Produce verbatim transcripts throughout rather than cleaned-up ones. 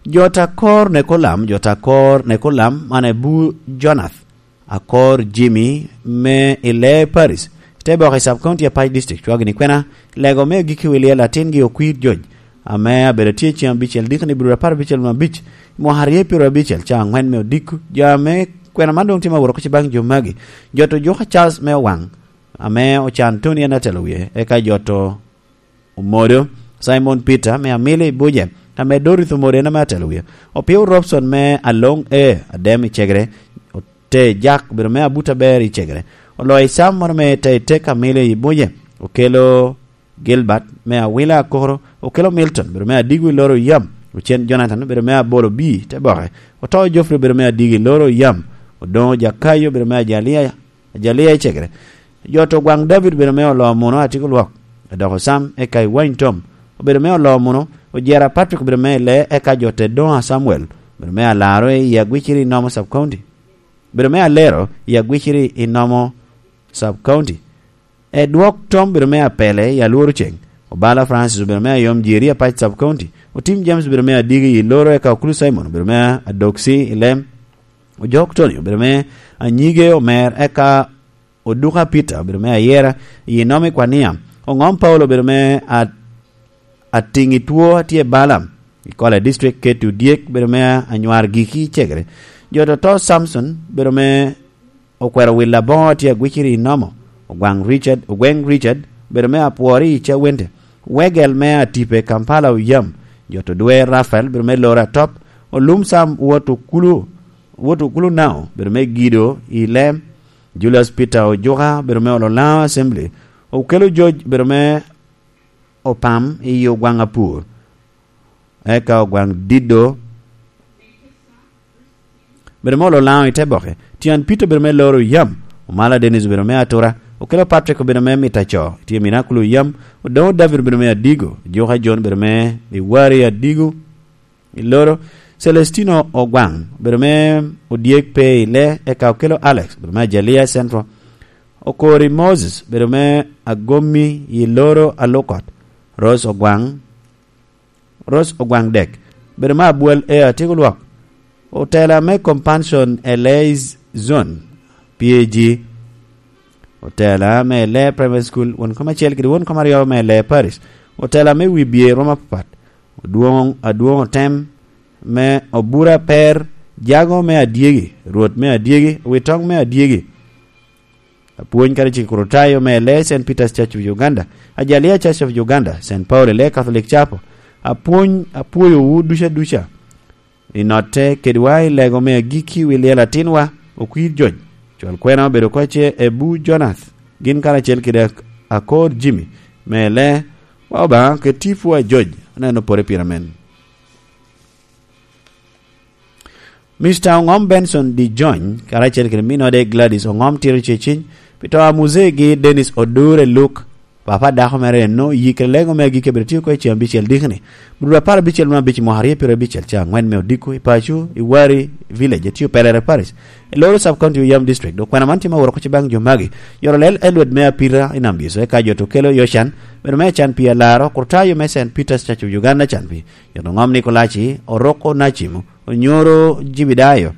Jo ta kor Nekolam, jo ta kor Nekolam, man Abu Jonath, akor Jimmy me i Lee Paris, te boko i Sub County Apac District, cwagi ni kwena, lego me agikki wi lyel atingi Okwir Joj, ame abedo tye ceng abicel diki ni brudo apar abicel ma abic, mwaka aryo pyero abicel ca angwen me odiko, jo ame kwena man doŋ tye ma wuro kuci baŋ jo magi, jo to juka Charles me Owaŋ, ame ocan Tony en atelo wie, eka jo to Omodo, Simon Peter me Amili Buje, ame Dorothy Omodo en ame atelo wie. Opio Robson me Aloŋ E, Adem i Cegere, ote Jak bedo me Abuta Ber i Cegere. Oloyo i Sam moro me te i tek Amili i Buje, okelo Gilbert me Awila Akoro, okelo Milton bedo me Adigo i Loro Yam, ocen Jonathan bedo me Abolo Bi te boke, oto Geoffrey bedo me Adigo i Loro Yam, odoŋo Jakayo bedo me Ajalia Ajalia i Cegere. Jo to gwaŋ David obedo me olo muno atiko lwok, dok osam eka i wany tom. Obedo me olo muno, ojera Patrick obedo me ile, eka jo te doŋ a Samuel obedo me alaro i agwiciri i nomo Sub County. Obedo me alero i agwiciri i nomo Sub County. E dwok tom obedo me apele i alworo ceng. Obala Francis obedo me ayom jeri apac Sub County. Otim James obedo me adigi i loro, eka Okulu Simon obedo me adoksi i lem. Ojok Tony obedo me anyige omer, eka Oduka Peter obedo me ayera i nom i kwania. Oŋom Paulo obedo me a-, atiŋ i two atye i Balaam i Kola District, Keti Odyek obedo me anywar giki i Cegere. Jo toto Samson obedo me okwero wil aboŋo atye agwiciri i nomo. Ogwaŋ Richard, Ogweng Richard obedo me apwori i Cawente. Wegel me atipe Kampala oyam. Jo to dwe Rafael obedo me loro atop. Olum Sam wot okulu, wot okulu nao obedo me gido i lem. Julius Peter Ojuka bedo me olo Laŋo Assembly. Okelo George bedo me opam i Ogwaŋ Apur. Eka Ogwaŋ Dido bedo me olo Laŋo i te boke. Tyan Peter bedo me loro yam. Omala Dennis obedo me atura. Okelo Patrick obedo me mita co. Tye mina kulu yam. Odoŋo David obedo me adigo. Ojuka John obedo me iwari adigo. I loro, Celestino Ogwaŋ obedo me odyek pe i le, eka okelo Alex obedo me Ajalia Central. Okori Moses obedo me agomi i loro alukot. Rose Ogwaŋ, Rose Ogwaŋ dek obedo me abwal e atiko lwak. Otela me Compassion Elais Zone, P A G. Otela me Ele Primary School, won kom acel kede won kom aryo me Ele Parish. Otela me wi bye romo apapat. Odwoŋ, adwoŋ otem me Obura Per, Jago me Adyegi, Rwot me Adyegi, Witoŋ me Adyegi. Apwony kadi cik Kurutayo me Ele Saint Peter's Church of Uganda, Ajalia Church of Uganda, Saint Paul Ele Catholic Chapel. Apwony, apwoyowu duca duca. I notte kedwa i lego me agikki wi lyel atinwa, Okwir Joj, cwal kwena obedo kocce Ebu Jonath, gin karacel kede ak-, Akor Jimmy, me le, wa Obaŋa kede tipo a Joj, aneno pore pira men. Mister Oŋom Benson Di Jony, karacel kede minode Gladys Oŋom Tiro Ceciny, pi to a muzegi Dennis Odure Luke, Papa dako mere enno, yik i lego me agikki abiro tio oko i ceng abicel dikni. Brudo apar abicel me abic mwaka aryo pyero abicel ca angwen me odiko i paco, i Wari Village, etio Pelere Parish. I Loro Sub County Oyam District, dok kwena man tye ma woro kuc baŋ jo magi. Yoro lel Edward me Apira i Nambiso, eka jo to kelo Yocan, bedo me can pi alaro, Kurtayo me Saint Peter's Church of Uganda can pi. Yoro Ngom Nikolaci, Oroko Nacimo, Onyoro Jibidayo,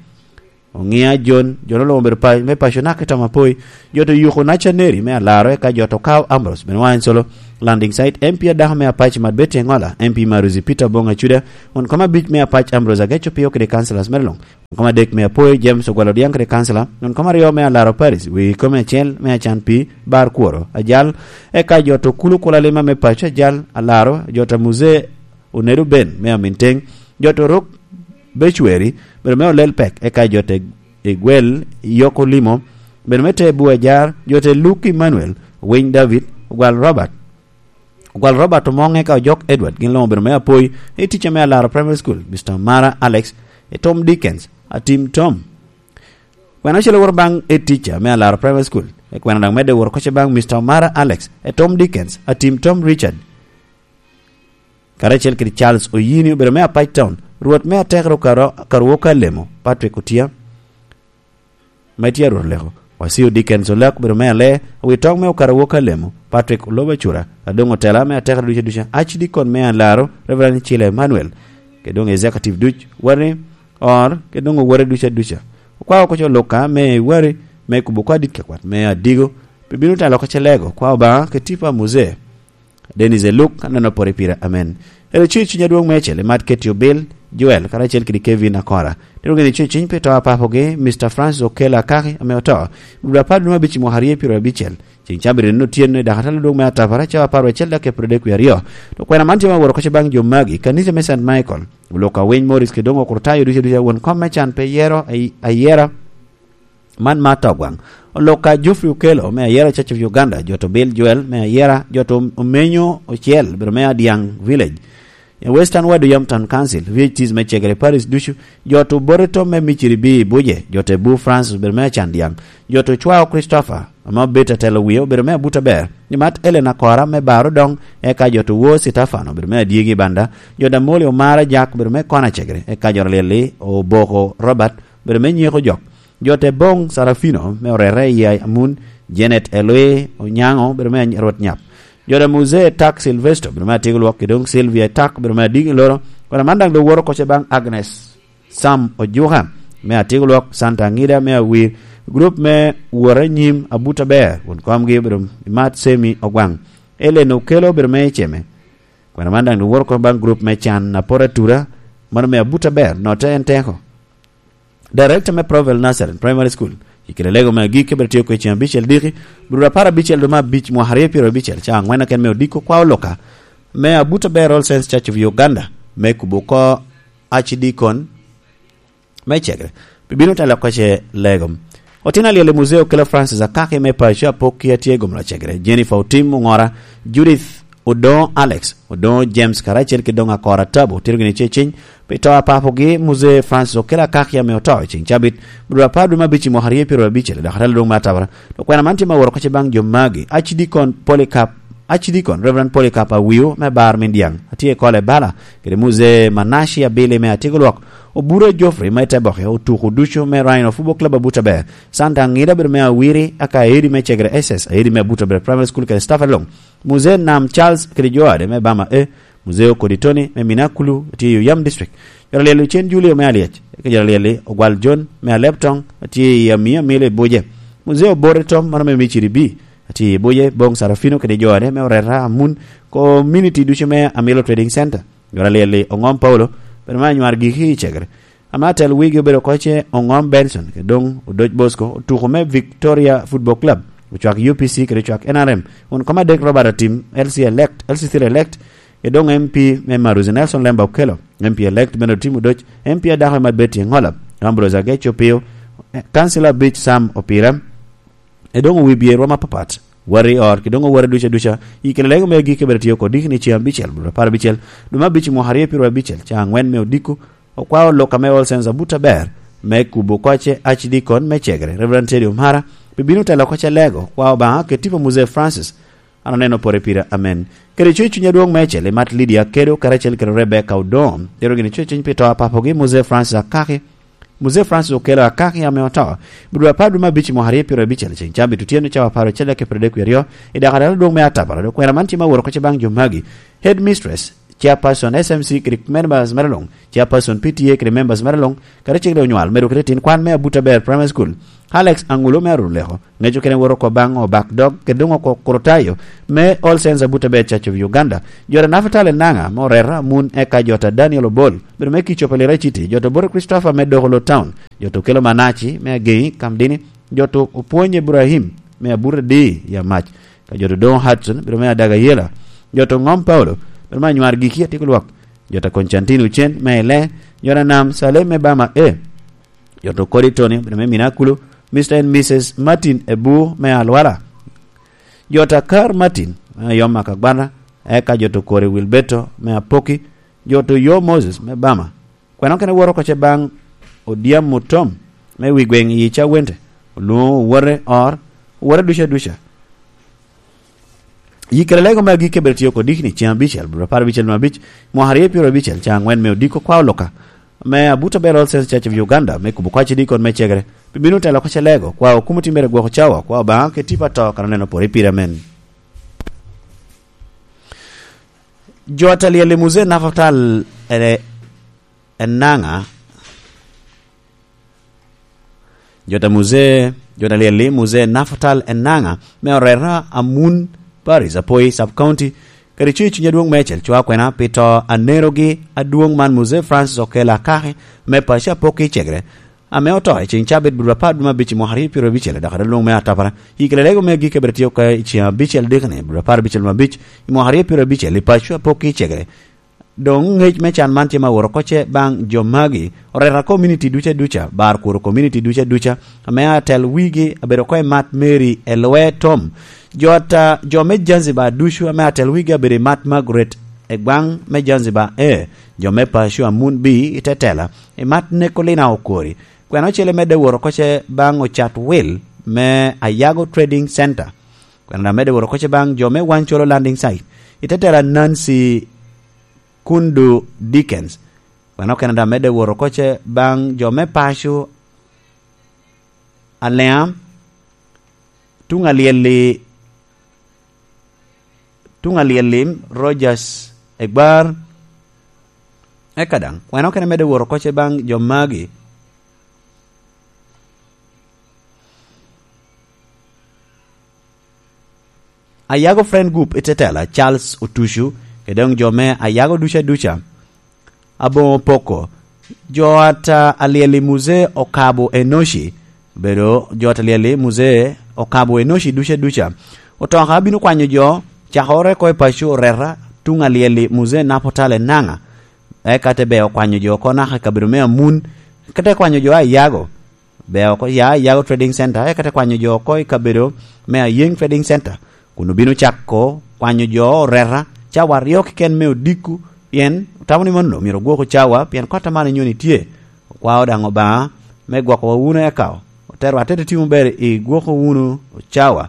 Oŋia Jon, jo noluŋo obedo pa-, me paco naka i Tamapoi, jo to yuko Nacaneri me alaro, eka jo to kawo Ambrose, bene wan solo. Landing site, M P adako me Apac Mat Betty Engola, M P Maruzi Peter Bong Acuda, won kom abic me Apac Ambrose Ageco Pio kede councillors mere luŋ. Won kom adek me Apoi James Ogwal Odiang kede councillor, won kom aryo me Alaro Paris, wi kom acel me Acan Pi, Bar Kworo, Ajal, eka jo to kulu kula lima me paco Ajal, Alaro, jo to Muzee Onedo Ben me Aminteng, jo to Rok Becweri, bedo me olel pek, eka jo te igwel, yok olimo, bedo me te bu ajar, jo te Luke Emmanuel, Winy David, Ogwal Robert. Ogwal Robert Omoŋ eka Ojok Edward, gin luŋ obedo me Apoi, i ticca me Alaro Primary School, Mister Mara Alex, e Tom Dickens, Atim Tom. Kwena ocele woro baŋ e ticca me Alaro Primary School, e kwena daŋ medde woro kocce baŋ Mister Mara Alex, e Tom Dickens, Atim Tom Richard. Karacel kede Charles Oyini obedo me Apac Town, Rwot me Atekere Okaro-, Okaruoka Lemo, Patrick Otia, ma tye a Rwot Oleko. Wasio Dickens Olak obedo me Ale, Owitoŋ me Okaruoka Lemo, Patrick Oloba Cura, Adoŋ Otela me Atekere Duca Duca, Archdeacon me Alaro, Reverend Chile Emmanuel. kede doŋ executive duc, wari, or, kede doŋ owore duca duca. Okwao oko co Luka me wari, me kubo kwa dit ka kwat me adigo, pi bino telo oko ce lego, kwa Obaŋa, ke tipo a Muse. Dennis Eluk, aneno pore pire, amen. Ero cuny cuny adwoŋ meicel, imat Keti Obil, Joel, karacel kede Kevin Akora. Tero gini cuny cuny pi to a papogi, Mister Francis Okello Akaki, ame oto. Dwe apar dwe me abic i mwaka aryo pyero abicel. Ceng cabit eno otyeno i dakatala dwoŋ me atapara, cawa apar wecel dakika pyero adek wie aryo. To kwena man tye ma woro koce baŋ jo magi, kanisa me Saint Michael. Oluka Winy Morris kede doŋ okurtayo ducu ducu won kom me can pe yero ay-, ayera. Man ma to gwaŋ. Oluka Geoffrey Okello me ayera Church of Uganda, jo to Bill Joel me ayera, jo to Omenyo Ocel, biro me Adiang Village. E Western Wadu Yam Town Council, V H Ts me Chegere Parish ducu, jo to Boreto me Miciri bi Buje, jo to Ebu Francis, biro me Acandiang, jo to Cwao Christopher, ame obedo atelo wie, obedo me Abuta Ber, ni mat Elena Kora me Baro Dong, eka jo to Wo Sitafano, obedo me Adyegi Banda, jo Damoli Omara Jak, obedo me Kona Chegere, eka jo Lyelli Oboko Robert, obedo me Nyeko Jok, jo te Boŋ Sarafino, me Orere i Amun, Janet Elwi Onyaŋo, obedo me Rwot Nyap, jo da Muse Tak Silvesto, obedo me Atyego Lwok, kede doŋ Sylvia Tak, obedo me Adiŋ i Loro, kono man daŋ doŋ woro koce baŋ Agnes Sam Ojuka, me Atyego Lwok, Santa Aŋida, me Awir, grup me Wora Nyim, Abuta Ber, won komgi obedo Imat Semi Ogwaŋ, Ellen Okello obedo me Iceme. Kwena man daŋ doŋ woro kono baŋ grup me Can Apor Atura, mano me Abuta Ber, note en teko. Director me Provel Nazarene Primary School, i kede lego me agik kebere tye kwe ceng abicel diki, bro apar abicel dwe me abic mwaka aryo pyero abicel, ca angwen aken me odiko kwa Oluka, me Abuta Ber All Saints Church of Uganda, me kubo oko Archdeacon me Chegre. Pi bino telo koce lego. Otin alyel i Muzeo Okello Francis Akaki me paco Apokki atye gomla Chegre. Jennifer Otim Ongora, Judith Odoŋo Alex, Odoŋo James karacel ki doŋ Akora Tabu, tito gini ceciny, pi to a papogi, Muzee Francis Okello Akaki ame oto i ceng cabit, bro apar dwe me abic i mwaka aryo pyero abicel, dok atalo doŋ me atabara. To kwena man tye ma woro koce baŋ jo magi, Archdeacon Polycarp, Archdeacon Reverend Polycarp Awio me Bar Mindiaŋ, atye i Kole Bala, kede Muzee Manashi Abili me Atyego Lwok, Obura Geoffrey me Teboke, otuko ducu me Rhino Football Club Abuta Ber, Santa Aŋida bedo me Awiri, aka Aidi me Chegre S S, Aidi me Abuta Ber Primary School kede staff along. Muzee Nam Charles kede jo ade me Bama A, Muzee Okodi Tony me Minakulu, tye i Oyam District. Jo Alyel Ocen Julio me Alyec, eka jo Alyel Ogwal John me Aleptong, tye i Amia Milo i Buje. Muzee Obore Tom, mano me Miciri B, tye i Buje, Boŋ Sarafino kede jo ade me Oreta Amun, community ducu me Amilo Trading Center. Jo Alyel Oŋom Paulo, bedo me anywar giki i Chegre. Ame atel wigi obedo koce Oŋom Benson, kede doŋ Odoc Bosco, otuko me Victoria Football Club, ocwak U P C kede ocwak N R M, won kom adek Robert Atim, L C elect, L C three elect, kede doŋ M P me Maruzi Nelson Lemba Okello, M P elect Bernard Otim Odoc, M P adako Emad Betty Engola, Ambrose Agech Opio, eh, Councilor Beach Sam Opira, e doŋ owi bye rwom apapat, wari ot, ki doŋ owore duca duca, i kede lego me agikki bedo tye oko diki ni ceng abicel, bro apar abicel, dwe me abic i mwaka aryo pyero abicel, ca angwen me odiko, okwao lok ame All Saints Abuta Ber, me kubo koce Archdeacon me Chegre, Reverend Teddy Omara, pi bino telo koce lego, kwa Obaŋa, kede tipo Muzee Francis, an oneno pore pire, amen. Kede coc cuny adwoŋ me acel, imat Lydia Kedo, karacel kede Rebecca Odom, tero gini coc cuny pi to a papogi, Muzee Francis Akaki, Muzee Francis Okello Akaki ame oto, bro apar dwe me abic i mwaka aryo pyero abicel, ceng cabit otyeno cawa apar ocel dek pyero adek wie aryo, i dakatala dwoŋ me atabara, dok kwena man tye ma woro koce baŋ jo magi, Headmistress, Chairperson S M C kede members mere luŋ, Chairperson P T A kede members mere luŋ, kadi cik de onywal, medo kede tin kwan me Abuta Ber Primary School, Alex Angulo me Aruleko, ŋeco kene woro oko baŋ Obak Dog, kede doŋ oko Kurotayo, me All Saints Abuta Ber Church of Uganda, jota Nafatali Naŋa, me Oreta Amun, eka jota Daniel Obol, bedo me Kicopo Lira City, jota Obote Christopher me Dokolo Town, jota Okello Manaci, me Ageŋi, Kamdini, jota Opwony Ibrahim, me Abuta Di, ya mac, ka jota Odoŋo Hudson, bedo me Adaga Yela, jota Oŋom Paulo, bedo me Anywar Giki Atyeko Lwok, jota Constantine Ocen, me Ile, jota Nam Salem me Bama A, jota Okodi Tony, bedo me Minakulu, Mister and Missus Martin Ebu me Alwala, jota Kar Martin, me Ayom Akagwana, eka jota Okori Wilberto, me Apoki, jota Oyo Moses, me Bama, kwena kene woro koce baŋ Odyam Otom, me wi gweŋ i Cawente, olwoŋo owote or, owote duca duca. Yi kede lego me agikki bedo tye oko diki ni ceng abicel, bro apar abicel me abic, mwaka aryo pyero abicel, ca angwen me odiko kwa Oluka, me Abuta Ber All Saints Church of Uganda, me kubo kwaci dikon me Chegre, pi bino telo koce lego, kwa okumo timmere gwoko cawa, kwa Obaŋa ke tipo ato, kan oneno pore pire, amen. Jo a talyel i Muzee Nafatal, eh, Enanga, jota Muzee, jota Lyelli Muzee Nafatal Enanga, me oreta Amun Paris, Apoi Sub County, kede cuyo cuny adwoŋ meicel cwa kwena pi to anerogi adwoŋ man Muzee Francis Okello Akaki, me paco Apokki Cegere, ame oto i ceŋ cabit bur apar dwe me abic i mwaka aryo pyerabicel, dok adwoŋ me atapara. Yik lelego me agikki abiro tye oko i ceŋ abicel dikani, bur apar abicel dwe me abic i mwaka aryo pyerabicel, i paco Apokki Cegere. Doŋ ŋec me can man tye ma woro koce baŋ jo magi, oreta community duca duca, bar kuro community duca duca, ame atel wigi abedo oko i Mat Mary Elwe Tom. Jo ata, jo me Zanzibar ducu ame atel wigi abedo i Mat Margaret Egwaŋ me Zanzibar, e, jo me paco Amun B i Tetela, i Mat Nekolina Okori. Kwena ocele medde woro koce baŋ Ocat Will me Ayago Trading Center. Kwena daŋ medde woro koce baŋ jo me Wancolo Landing Site, i Tetela Nancy Kundu Dickens. Kwena okene daŋ medde woro koce baŋ jo me paco Alea, tuŋ alyelli, tuŋ alyelli Rogers Egbar. Eka daŋ, kwena okene medde woro koce baŋ jo magi. Ayago Friend Group i Tetela, Charles Otucu, kede doŋ jo me Ayago duca duca, Aboŋo Poko, jo ata alyel i Muzee Okabo Enoci, bedo jo ata alyel i Muzee Okabo Enoci duca duca. Otoka bino kwanyo jo, cakere oko i paco oreta, tuŋ alyel i Muzee Napotale Naŋa, eka te be okwanyo jo oko naka i kabedo me Amun, ka te kwanyo jo a Ayago. Be oko ya Ayago Trading Center, eka te kwanyo jo oko i kabedo me Ayeŋ Trading Center, kun obino cako kwanyo jo oreta cawa aryo keken me odiko, pien otamo ni mano myero ogwok ocawa, pien kot a man inyoni tye. Okwao daŋ Obaŋa me gwokowa wunu eka otero atete timo ber i gwoko wunu ocawa.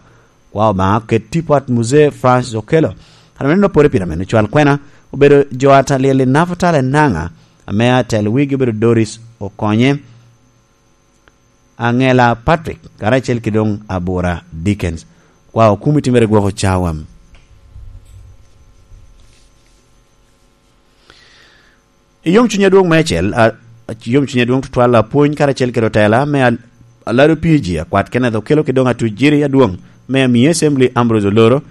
Okwao Obaŋa oket tipo at Muzee Francis Okello. Kan meno pore pira meno cwal kwena obedo jo at alyel i Napotale Naŋa, ame atel wigi obedo Doris Okonye, Angela Patrick, karacel ki doŋ Abura Dickens. Kwa okumi timere gwoko cawa. I yom cuny adwoŋ meicel, a, a, yom cuny adwoŋ tutwal, apwony karacel kede otela me al-, Alado P G, akwat Kenneth Okello ki doŋ atuc jiri adwoŋ me Amii Assembly Ambrose Oloro,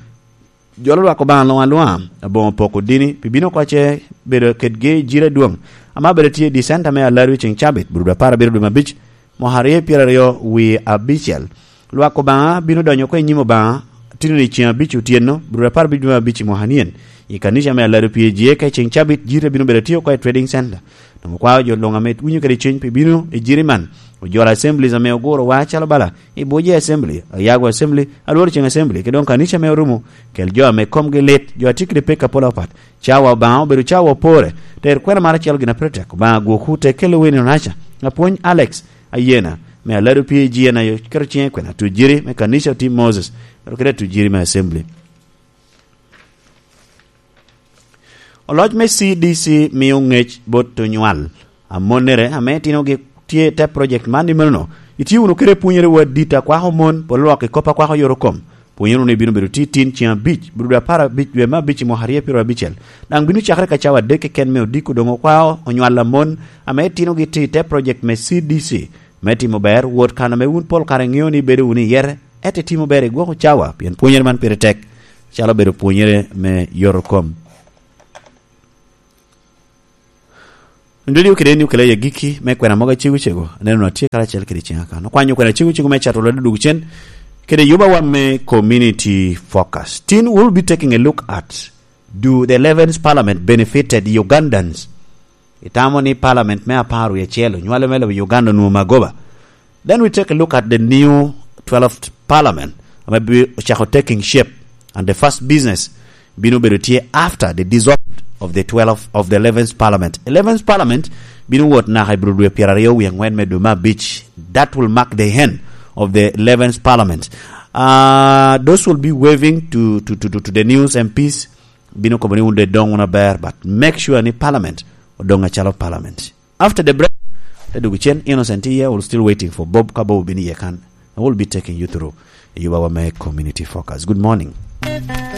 jolo lwak Obaŋa luŋ aluŋa, aboŋo poko dini, pi bino oko ce bedo kedgi jiri adwoŋ, ame abedo tye i dicenta me Alado i ceŋ cabit, bur dwe apar abiro dwe me abic, mwaka aryo pyeraryo wie abicel. Lwak Obaŋa bino donyo oko i nyim Obaŋa, tino ni ceŋ abic otyeno, bur dwe apar abic dwe me abic i mwaka nien, i kanica me Alado P G A ka i ceŋ cabit, jiri te bino bedo tye oko i Trading Center. Doŋ okwao jo luŋ ame winyo kede cwiny pi bino i jiri man, ojolo assemblies ame oguro wa calo bala, i Buji Assembly, Ayago Assembly, Alworo Ceŋ Assembly, ki doŋ kanica me Orumo, kel jo ame komgi lit, jo a tye kede pek apol apat. Cawa Obaŋa obedo cawa opore, ter kwena mar acel gin a pire tek, Obaŋa gwokwu te kelo wini onaca, apwony Alex Ayena, me Alado P A G N ayo, keto ciŋe kwena, tujiri me kanica Otim Moses, kede tujiri me Assembly. Oloc me C D C mio ŋec bot onywal amonnere ame itinogi tye i te project man. I menono, itye wunu kede pwonyerewu adit a kwako mon, polo lwak i kop a kwako yorokom. Pwonyere wunu ni bino bedo tye tin ceŋ abic, bur dwe apar abic dwe me abic i mwaka aryo pyerabicel. Daŋ bino cakere ka cawa adek keken me odiko doŋ okwao onywal amon ame itinogi tye i te project me C D C me timo ber, wot kan ame wun pol kare iŋeo ni ibedo wunu i yere, ento itimo ber i gwoko cawa, pien pwonyere man pire tek, calo obedo pwonyere me yorokom. Ndweliyo kede eni okela i agikki me kwena mogo acego cego, aneno na tye karacel kede ciŋa kan. Okwanyo kwena acego cego me cato lwelo duk cen, kede yubawa me community focus. Tin we'll be taking a look at, do the eleventh parliament benefited Ugandans? Itamo ni parliament me apar wie acel onywale me lobo Uganda onwoŋo magoba? Then we take a look at the new twelfth parliament, ame bi ocako taking shape, and the first business bino bedo tye after the dissolved of the twelfth, of the eleventh parliament. Eleventh parliament bino wot naka i bro dwe pyeraryo wie aŋwen me dwe me abic. That will mark the end of the eleventh parliament. Uh, those will be waving to, to, to, to, to the news M Ps, bino kobo ni wun de dong wun aber, but make sure ni parliament odong acalo parliament. After the break, te dugu cen, Innocent iye, we'll still waiting for Bob, ka Bob obino iye kan. And we'll be taking you through yubawa me community focus. Good morning.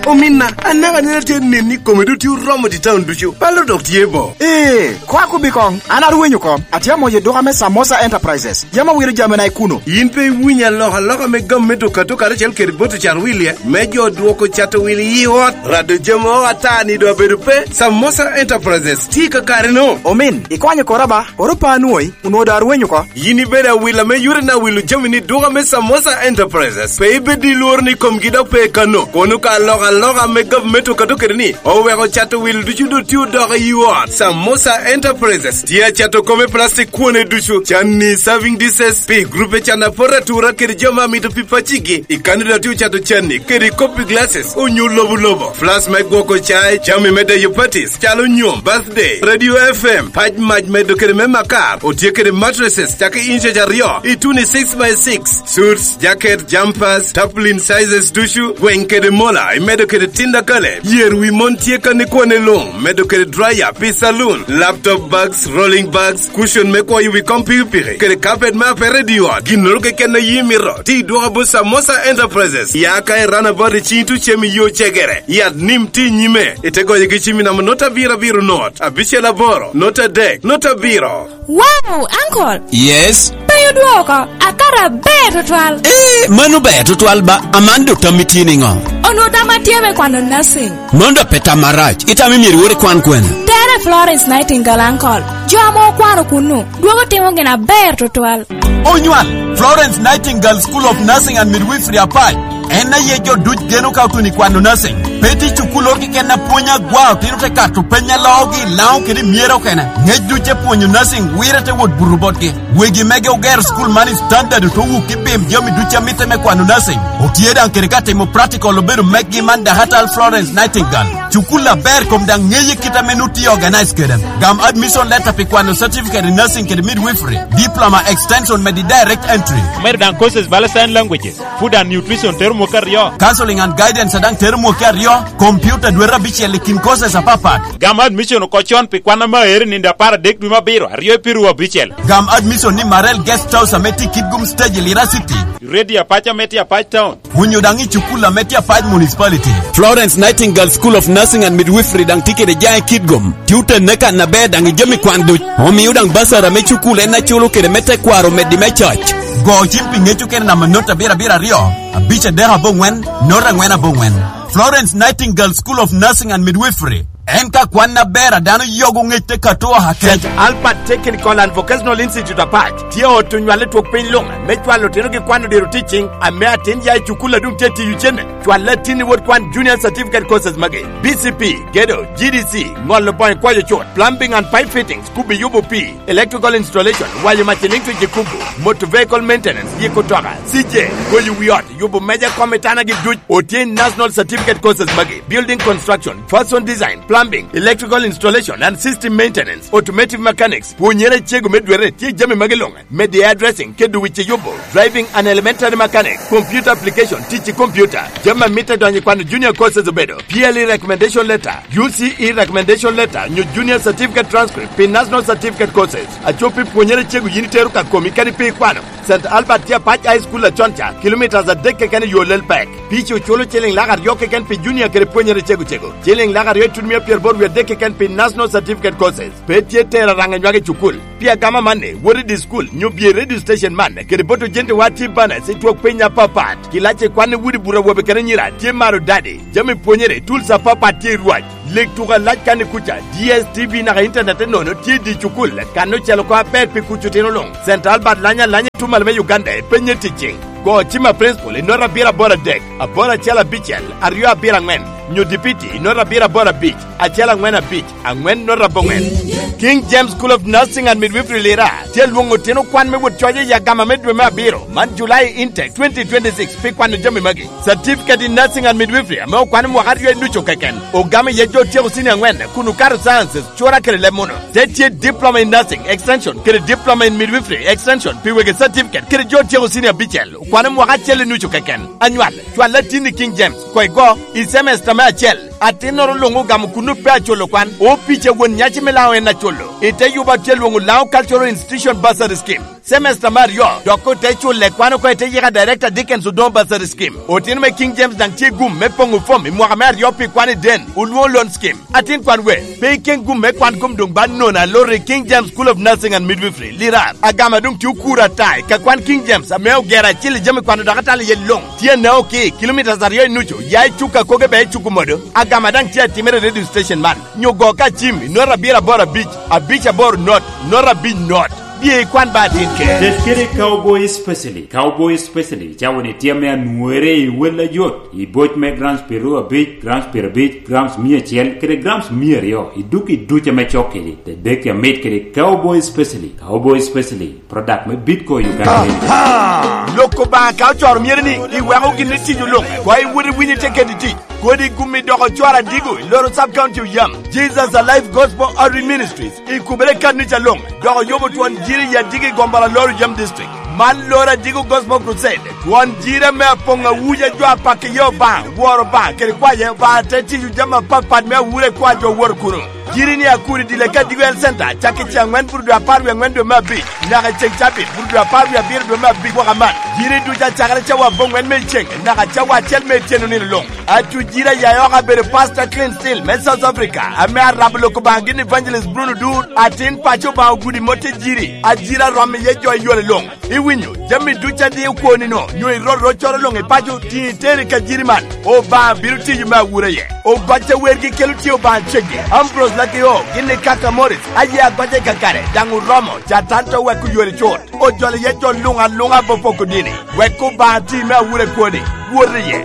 Ominna, anaka neno atye nen ni kome dutye oromo i taun ducu. Palo dok tye bo. Ee, kwa kubi koŋ, an arwenyo oko. Atye amoyo duka me Samosa Enterprises. Yam awilo jamina i kuno. In pe iwinyo alokaloka me gam me duka to karacel kede boto cat wilye, me jo dwoko cato wil i ot, rado jami o ata ni do abedo pe? Samosa Enterprises tye i kakare-no. Omin, ikwanyo kora ba, koro pa anwoyi, onwoŋo do arwenyo oko. Yin ibedo awila me yore na wilo jami ni duka me Samosa Enterprises. Pe ibed i lworo ni komgi dok pe kano. Kono ka alokaloka me gavumenti okato kede ni, oweko cato wil ducu do tye odoko i ot. Samosa Enterprises tye acato kome plastic kwone ducu, canni serving dishes, pi grupe can apor atura kede jo ma mito pi pacigi. I kani do tye ocato canni kede kopi glasses, onyo lobo lobo, flas me gwoko cai, jami me deyo parties, calo nyom, birthday, radio F M, pac mac medo kede me makar, otye kede mattresses, cake inches aryo, i tuni six by six, suits, jacket, jumpers, tarpaulin sizes ducu, gweng kede mola, imedo kede tinda kale, yer wi mon tye kan i kwane luŋ, medo kede dryer, pi saloon, laptop bags, rolling bags, cushion me kwoyo wi kom pikipiki, kede carpet me apete i ot, ginnoro keken a yi mito, ti dwoka bot Samosa Enterprises, ya ka i runabout i cing tucem i yo cegere, yat nim ti nyime, ite goyo gi cimi namba not abiro abiro not, abicel aboro, not adek, not abiro. Wow, uncle! Yes? Pe odwoko, akara ber tutwal. Eh, mano ber tutwal ba, aman do tammi tye niŋo? Onwo tamma tye me kwano nursing. Mano dok pe tam marac, itamo myero iwot ikwan kwene? Tere Florence Nightingale, uncle. Jo ame okwano kunnu, dwogo timo gin aber tutwal. Onywal, Florence Nightingale School of Nursing and Midwifery Apac. En aye jo duc geno ka otuno i kwano nursing. Pe tye cukulloro keken a pwony agwa, otino te kato peny a loogi i Laŋo kede i Myero okene. Ngec duc te pwonyo nursing wire te wot buto botgi. Wegi mege ogero cukul man i standard ote wuk i pim jami duc a mitte me kwano nursing. Otye daŋ kede ka timo practical obedo mekgi man Dahatal Florence Nightingale. Cukul aber kom daŋ ŋeye kit ame nu tye organize kede. Gam admission letter pi kwano certificate in nursing kede midwifery, diploma extension medi direct entry. Omedo daŋ courses bala sign languages, food and nutrition tero mwaka aryo. Counseling and guidance daŋ tero mwaka aryo, computer dwete abicel i kin courses apapat. Gam admission oko con pi kwan ame aero i nino apar adek dwe me abiro, aryo i piru abicel. Gam admission ni Marel Guest House ame tye Kitgum Stage i Lira City. Ready apac ame tye Apac Town. Onyo daŋ i cukul ame tye Apac Municipality. Florence Nightingale School of Nursing and Midwifery daŋ tye kede jaŋ i Kitgum. Tye otenne kan aber daŋ i jami kwan duc. Omio daŋ basara me cukul en aculo kede me tekwaro omeddi me coc. Go cim pi ŋec okene namba not abiro abiro aryo, abic adek aboŋwen, not angwen aboŋwen. Florence Nightingale School of Nursing and Midwifery. En ka kwan aber a dano yogo ŋec te kato akec. Albert Technical and Vocational Institute Apac tye ot onywal i twok piny luŋ me cwalo otino gi kwano diro teaching ame atin ya i cukul a dum tye tiyo cene. Cwal latin i wot kwan junior certificate courses magi: B C P, gedo, G D C, ŋolo boŋo kwayo cut, plumbing and pipe fittings, kubi yubo pii, electrical installation, wayo mac electric i kubo, motor vehicle maintenance, yiko toka, C J, goyo wi ot, yubo meja kom i tana gi duc. Otye National Certificate courses magi: building construction, fashion design, plumbing, electrical installation and system maintenance, automotive mechanics. Pwonyere cego me dwere tye jami magi luŋ. Media addressing, kedo wic i yubo, driving and elementary mechanic, computer application, tic i computer. Jami a mitte donyo i kwano junior courses obedo P L E recommendation letter, U C E recommendation letter, nyo junior certificate transcript pi national certificate courses. Acop pi pwonyere cego yin itero ka komi kadi pe ikwano. Saint Albert tye Apac High School acon ca, kilometres adek keken i yo lel pek. Pici oculo ciliŋ lak aryo keken pi junior kede pwonyere cego cego, ciliŋ lak aryo itutumia pyeraboro wie adek keken pi national certificate courses. Pe tye tero araŋ i nywak i cukul. Pi agama amanni, wot i di cukul, nyo bye i radio station man, kede boto jenti wa tye banas i twok piny apapat. Kilac i kwan i wudi bur awobe kede anyira tye maro dadi. Jami pwonyere, tools apapat tye i rwac. Leg tuko alac kan i kuca, D S T V naka internet nono tye i di cukul, kan ocel oko aber pi kuc otino luŋ. Saint Albert lanya alanya i tumalo me Uganda, ipenye ticing. Go cim a principal i nota abiro aboro adek, aboro acel abicel, aryo abiro angwen, nyo dipiti i nota abiro aboro abic, acel angwen abic, angwen nota aboŋwen. King James School of Nursing and Midwifery Lira tye alwoŋo otino kwan me wot coc i agama me dwe me abiro man, July intake twenty twenty-six, pi kwano jami magi: certificate in nursing and midwifery ame okwano mwaka aryo i nucu keken, ogamo iye jo otyeko senior angwen kun okato sciences, cura kede leb muno. Te tye diploma in nursing extension kede diploma in midwifery extension pi wegi certificate kede jo otyeko senior abicel okwano mwaka acel i nucu keken. Anywal, cwal latin i King James, koi go, i semester me acel. Atinnoro luŋ ogamo kun ope aculo kwan. Opic a won nyaci me Laŋo en aculo. I te yubo atye alwoŋo Laŋo Cultural Institution Bursary Scheme. Semester me aryo, dok ote culle kwan oko i te yika Director Dickens Odongo Bursary Scheme. Otino me King James daŋ tye gum me poŋo fom i mwaka me aryo pi kwan i den, olwoŋo loan scheme. Atin kwan we, pe iken gum me kwan kom doŋ ba nono aloro i King James School of Nursing and Midwifery, Lirar. Agama doŋ tye okuro ata i ka kwan King James ame ogero acil i jami kwano dok atalo iye luŋ. Tye Naoki, kilomitas aryo i nucu, ya i Cuka koge be i Cuku modo. Agama daŋ tye atimere i radio station man. Nyo go ka cim i not abiro aboro abic, abic aboro not, not abic not. Bye ikwan ba atin kere. Tet kede Cowboy Specialty. Cowboy Specialty cawa ni tye ame anwore i wel ajot, i boc me grams piero abic, grams piero abic, grams mia acel, kede grams mia aryo, i duk i duc ame cok kedi. Te dek amit kede Cowboy Specialty. Cowboy Specialty, product me Bitco Uganda Limited. Lok Obaŋa ka ocoro myero ni iweko gin i tic oluŋ, kwa iwot iwinyo tye kede tic. Kodi gumi dok ocwar adigo i loro sub county oyam. Jesus Alive Gospel Outreach Ministries ikubere i kannica luŋ, dok oyubo twon jiri i adigi i gombala loro yam district. Man loro adigo Gospel Crusade, twon jiri ame apoŋ awuja jo apako iye Obaŋa, woro Obaŋa, kede kwaye Obaŋa te tiyo jami apapat me awura i kwa jo woro kuno. Jiri ni akuri dile ka digo health center, cak i ce angwen buru dwe apar wie angwen dwe me abic, naka i ceng cabit buru dwe apar wie abiro dwe me abic waka man. Jiri ducu acakere cawa aboŋwen me ceng, naka cawa acel me tyeno nino luŋ. Acu jira ya oko abedo Pastor Clean Steel me South Africa, ame arabo lok Obaŋa gin Evangelist Bruno Dur, atin paco Obaŋa ogudi mote jiri, ajira rom iye jo i yore luŋ. Iwinyo, jami ducu a dio kwoni no, nyo irot roccoro luŋ i paco, tiŋ iteri ka jiri man. Obaŋa bino tiyo me awura ye. Ogocca wergi kelo tye Obaŋa ceggi. Ambrose Lakio, gin i kaka Morris, aye agocca i kakare, daŋ oromo, Catan to weko yore cut. Ojolo iye jo luŋ aluŋa bo poko dini, wek Obaŋa ti me awura kwoni, wot iye.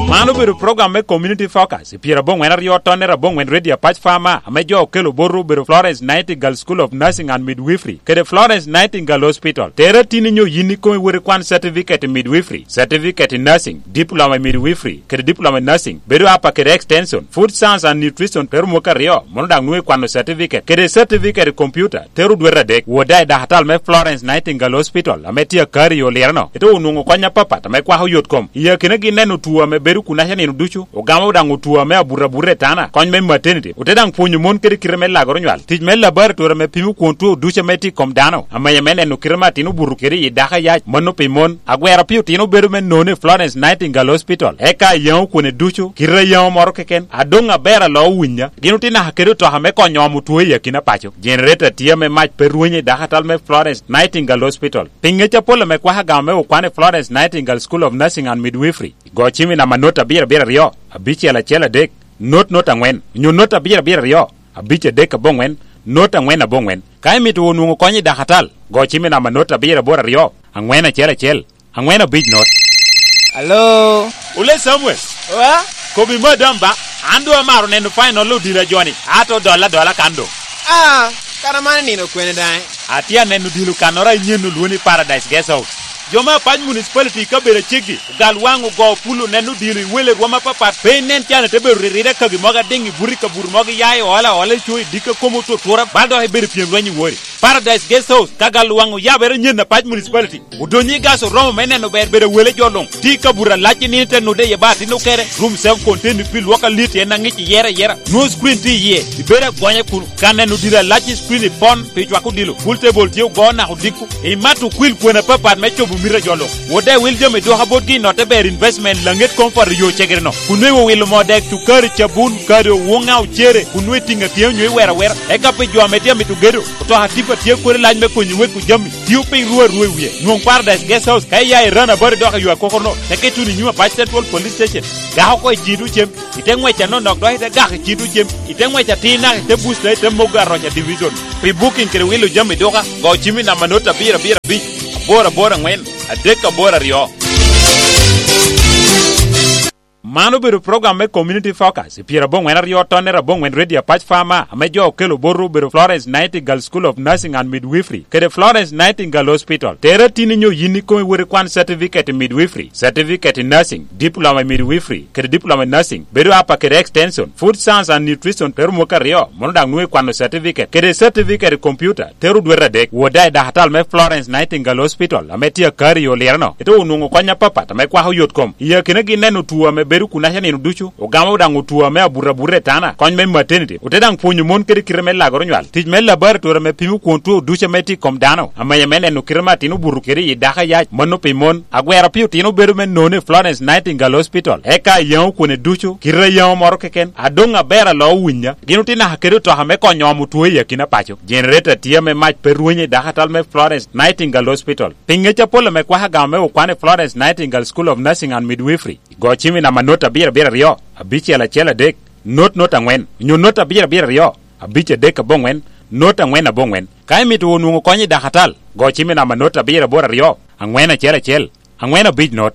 Man obedo program me Community Focus, i pyeraboŋwen aryo tonne raboŋwen Radio Apac Farmer, ame jo okelo botwu obedo Florence Nightingale School of Nursing and Midwifery, kede Florence Nightingale Hospital. Tere tin inyo yin ikomi wot ikwan certificate i midwifery, certificate i nursing, diploma i midwifery, kede diploma i nursing, bedo apa kede extension, food science and nutrition, tero mwaka aryo, mono daŋ nwoŋo ikwano certificate, kede certificate i computer, tero dwete adek. Wot daŋ i dakatal me Florence Nightingale Hospital, ame tye akari i Oliro-no, ite onwoŋo kony apapat ame kwako yot kom. I akinagi neno two ame bedo kunaca nino ducu, ogamo daŋ otwo ame abuto abuta i tana, kony me maternity, ote daŋ pwonyo mon kede kite me lagoro nywal, tic me laboratory ame pimo kwon two ducu ame tye i kom dano, amenya me neno kite ame atin obuto kede i dako ayac, mano pi mon. Agwero pi otino bedo me nono i Florence Nightingale Hospital, eka ayaŋo kwone ducu, kite ayaŋo moro keken, adoŋ aber alo owinya. Gin otye naka kede otoka me konyo omo two i akina paco. Generator tye ame mac pe rwenyo i dakatal me Florence Nightingale Hospital. Pi ŋec apol ame kwako agama me okwan i Florence Nightingale School of Nursing and Midwifery, go cim i namba not abiro abiro aryo, abicel acel adek, not not angwen, onyo not abiro abiro aryo, abic adek aboŋwen, not angwen aboŋwen. Ka imito onwoŋo kony i dakatal, go cim i namba not abiro aboro aryo, angwen acel acel, angwen abic not. Alo? Ole Samuel. Wa? Kobi madam ba, an doŋ amaro neno final odilo ajoni, ato dolla dolla kan doŋ. Ah, kara man nino kwene daŋ? Atye aneno dilo kannoro a inyen olwoni Paradise Guest House. Jo me Apac Municipality i kabedo aceggi, ogal waŋ ogo pulo neno dilo i wele rwom apapat. Pe inen can ite bedo riride kagi mogo adiŋ i buti kabuto mogo iya i ola ola i co i dikka komo tutura, bal dok ibedo pyem lweny i wori. Paradise Guest House, ka gal waŋ oyabere nyen Apac Municipality. Odonyo i gas oromo me neno ber bedo wele jo luŋ. Ti kabuto alac i nino te nude iye ba atin okere. Room self contained pi lwok alit en aŋic iyere ayera. Nwo screen ti iye. Ibedo agonya kun ka neno dira alac i screen i pon pi cwako dilo. Pool table tye ogo nako diko. Imato kwil kwena papat me cobo mita jo luŋ. Wode wil jami dwoka botgi i note ber investment laŋet comfort i yo cegere no. Kun nwe iwilo moo dek, cukari, cabun, kado, woŋa, ocere, kun nwe itiŋa tye onyo iwero awera. Eka pi jo ame tye amito gedo, otoka tipa tye kodi lac me konyo wek ojami. Tio piny ruu arua i wie. Nwoŋ Paradise Guest House ka iya i Rana Body dok i yo akokorno, teke tuno i nyim Apac Central Police Station. Gako oko i cito cem, ite ŋwec anonok dok ite gako i cito cem, ite ŋwec atir naka ite busta ite mogo aroca division. Pi booking kede wilo jami duka, go cim i namba not abiro abiro abic, aboro aboro angwen, adek aboro aryo. Man obedo program me Community Focus, i pyeraboŋwen aryo tonne raboŋwen Radio Apac Farmer, ame jo okelo botwu obedo Florence Nightingale School of Nursing and Midwifery, kede Florence Nightingale Hospital. Tere tin inyo yin ikomi wot ikwan certificate i midwifery, certificate i nursing, diploma i midwifery, kede diploma i nursing, bedo apa kede extension, food science and nutrition, tero mwaka aryo, mono daŋ nwoŋo ikwano certificate, kede certificate i computer, tero dwete adek. Wot daŋ i dakatal me Florence Nightingale Hospital, ame tye akari i Oliro-no, ite onwoŋo kony apapat ame kwako yot kom. I akinagi neno two ame bedo Rik kunaca nino ducu, ogamo daŋ otwo ame abuto abuta i tana, kony me maternity, ote daŋ pwonyo mon kede kite me lagoro nywal, tic me laboratory ame pimo kwon two ducu ame tye i kom dano, amenya me neno kite ame atin obuto kede i dako ayac, mano pi mon. Agwero pi otino bedo me none i Florence Nightingale Hospital, eka ayaŋo kwone ducu, kite ayaŋo moro keken, adoŋ aber alo owinya. Gin otye naka kede otoka me konyo omo two i akina paco. Generator tye ame mac pe rwenyo i dako atal me Florence Nightingale Hospital. Pi ŋec apol ame kwaka gamo me okwan i Florence Nightingale School of Nursing and Midwifery, go cim i namba not abiro abiro aryo, abicel acel adek, not not aŋwen, onyo not abiro abiro aryo, abic adek aboŋwen, not aŋwen aboŋwen. Ka imito wunu nwoŋo kony i dakatal, go cim i namba not abiro aboro aryo, aŋwen acel acel, aŋwen abic not.